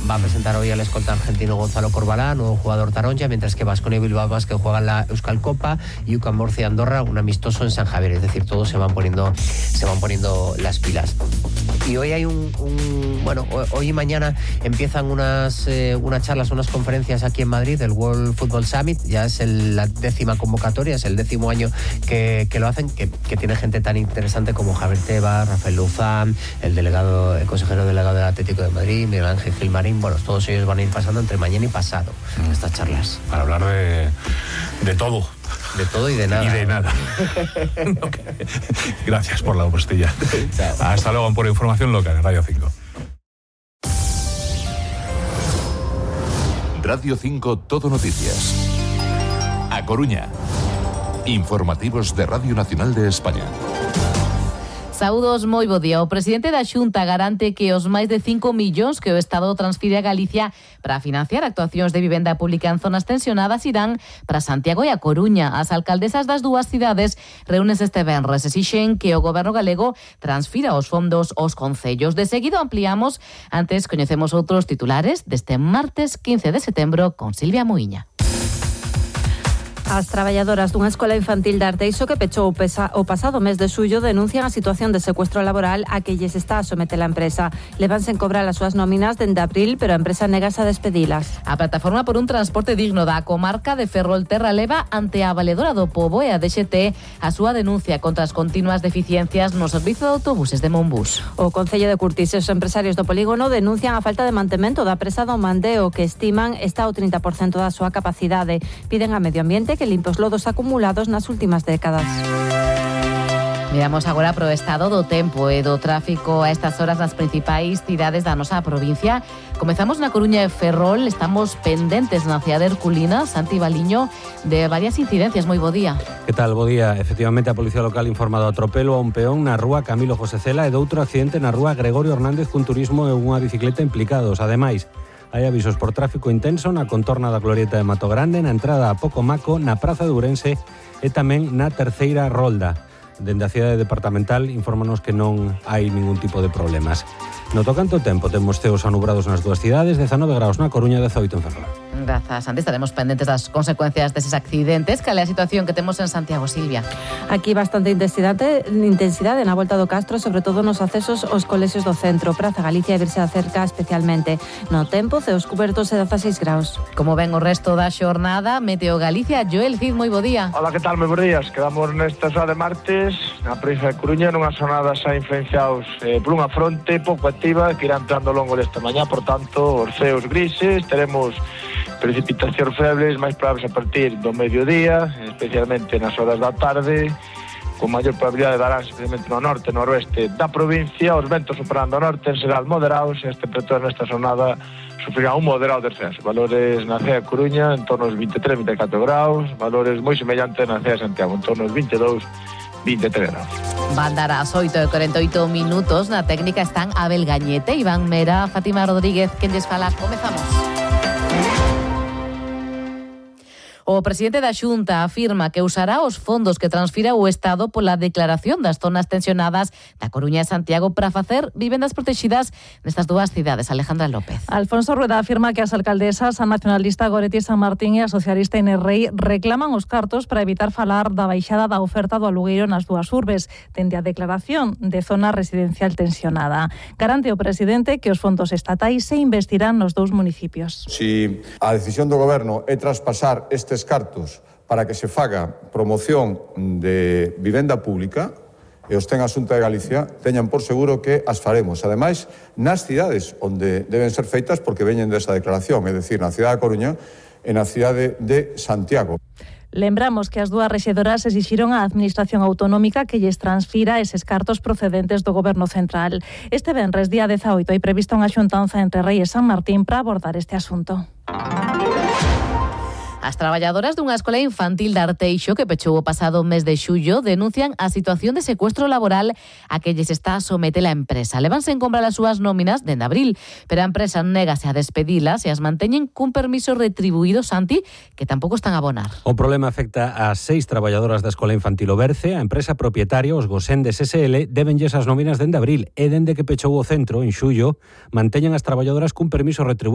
va a presentar hoy al escolta argentino Gonzalo Corbalán, nuevo jugador taronja, mientras que Baskonia y Bilbao Basket juegan la Euskal Copa y UCAM Murcia Andorra un amistoso en San Javier. Es decir, todos se van poniendo las pilas. Y hoy hay hoy y mañana empiezan unas charlas, unas conferencias aquí en Madrid del World Football Summit. Ya es la 10ª convocatoria, es el 10º año que lo hacen, que tiene gente tan interesante como Javier Tebas, Rafael Luzán, el consejero delegado del Atlético de Madrid, Miguel Ángel Gilmarín. Bueno, todos ellos van a ir pasando entre mañana y pasado estas charlas. Para hablar de todo. De todo y de nada. Y de nada. Okay. Gracias por la postilla. Hasta luego por información local en Radio 5. Radio 5 Todo Noticias. A Coruña. Informativos de Radio Nacional de España. Saúdos, moi bo día. O presidente da Xunta garante que os máis de 5 millóns que o Estado transfire a Galicia para financiar actuacións de vivenda pública en zonas tensionadas irán para Santiago e a Coruña. As alcaldesas das dúas cidades reúnes este venres, exixen que o goberno galego transfira os fondos aos concellos. De seguido ampliamos, antes coñecemos outros titulares deste martes 15 de setembro con Silvia Muiña. As traballadoras dunha escola infantil de Arteixo que pechou o pasado mes de xullo denuncian a situación de secuestro laboral a que lles está a someter a empresa. Levanse en cobrar as súas nóminas dende abril, pero a empresa negase a despedilas. A plataforma por un transporte digno da comarca de Ferrolterra leva ante a valedora do Pobo e a DXT a súa denuncia contra as continuas deficiencias no servizo de autobuses de Monbús. O Concello de Curtis e os empresarios do polígono denuncian a falta de mantemento da presa do Mandeo, que estiman está ao 30% da súa capacidade. Piden a Medio Ambiente que limpe os lodos acumulados nas últimas décadas. Miramos agora pro estado do tempo e do tráfico a estas horas nas principais cidades da nosa provincia. Comezamos na Coruña e Ferrol, estamos pendentes na cidade herculina, Santi Baliño, de varias incidencias. Moi bo día. Que tal, bo día? Efectivamente, a Policía Local informa do atropelo a un peón na rúa Camilo José Cela e doutro accidente na rúa Gregorio Hernández cun turismo e unha bicicleta implicados. Ademais, hai avisos por tráfico intenso na contorna da glorieta de Mato Grande, na entrada a Pocomaco, na Praza de Ourense e tamén na terceira rolda. Dende a cidade departamental infórmanos que non hai ningún tipo de problemas. No tocante ao tempo, temos ceos anubrados nas dúas cidades, 19 graus na Coruña, 18 en Ferrol. Grazas, Santi. Estaremos pendentes das consecuencias deses accidentes. Cal é a situación que temos en Santiago, Silvia? Aquí bastante intensidade na volta do Castro, sobre todo nos accesos aos colexios do centro, Praza Galicia e Virse da Cerca especialmente. No tempo, ceos cubertos e 16 graus. Como ven o resto da xornada, Meteo Galicia, Joel Cid, moi bo día. Hola, que tal? Moi bo días. Quedamos nesta xoa de martes na provincia de Coruña nunhas jornadas xa influenciados por unha fronte pouco activa que irá entrando ao longo desta mañá, por tanto, os ceos grises, teremos precipitacións febles máis probables a partir do mediodía, especialmente nas horas da tarde, con maior probabilidade darán especialmente no norte e noroeste da provincia. Os ventos operando ao norte en xeral moderados e as temperaturas nesta jornada sufrirán un moderado descenso. Valores na cidade de Coruña en torno aos 23-24 graus, valores moi semellantes na cidade de Santiago, en torno aos 22-23 graus. Van dar as 8:48 minutos. Na técnica están Abel Gañete, Iván Mera, Fátima Rodríguez, quen lles fala. Comezamos. O presidente da Xunta afirma que usará os fondos que transfira o Estado pola declaración das zonas tensionadas da Coruña e Santiago para facer vivendas protegidas nestas dúas cidades. Alejandra López. Alfonso Rueda afirma que as alcaldesas, a nacionalista Goretti San Martín e a socialista Inés Rei reclaman os cartos para evitar falar da baixada da oferta do alugueiro nas dúas urbes, dende a declaración de zona residencial tensionada. Garante o presidente que os fondos estatais se investirán nos dous municipios. Si a decisión do goberno é traspasar estes cartos para que se faga promoción de vivenda pública e os ten a Xunta de Galicia, teñan por seguro que as faremos. Ademais, nas cidades onde deben ser feitas porque veñen desa declaración, é dicir, na cidade da Coruña e na cidade de Santiago. Lembramos que as dúas rexidoras exixiron á Administración Autonómica que lles transfira eses cartos procedentes do Goberno Central. Este venres, día 18, hai prevista unha xuntanza entre Rei e San Martín para abordar este asunto. As traballadoras dunha escola infantil de Arteixo que pechou o pasado mes de xullo denuncian a situación de secuestro laboral a que lles está a someter a empresa. Levanse en comprar as súas nóminas dende abril, pero a empresa négase a despedilas e as manteñen cun permiso retribuído, Santi, que tampouco están a abonar. O problema afecta a 6 traballadoras da escola infantil Oberce. A empresa propietaria, os Gosendes SL, debenlles as nóminas dende abril e dende que pechou o centro, en xullo, manteñen as traballadoras cun permiso retribuído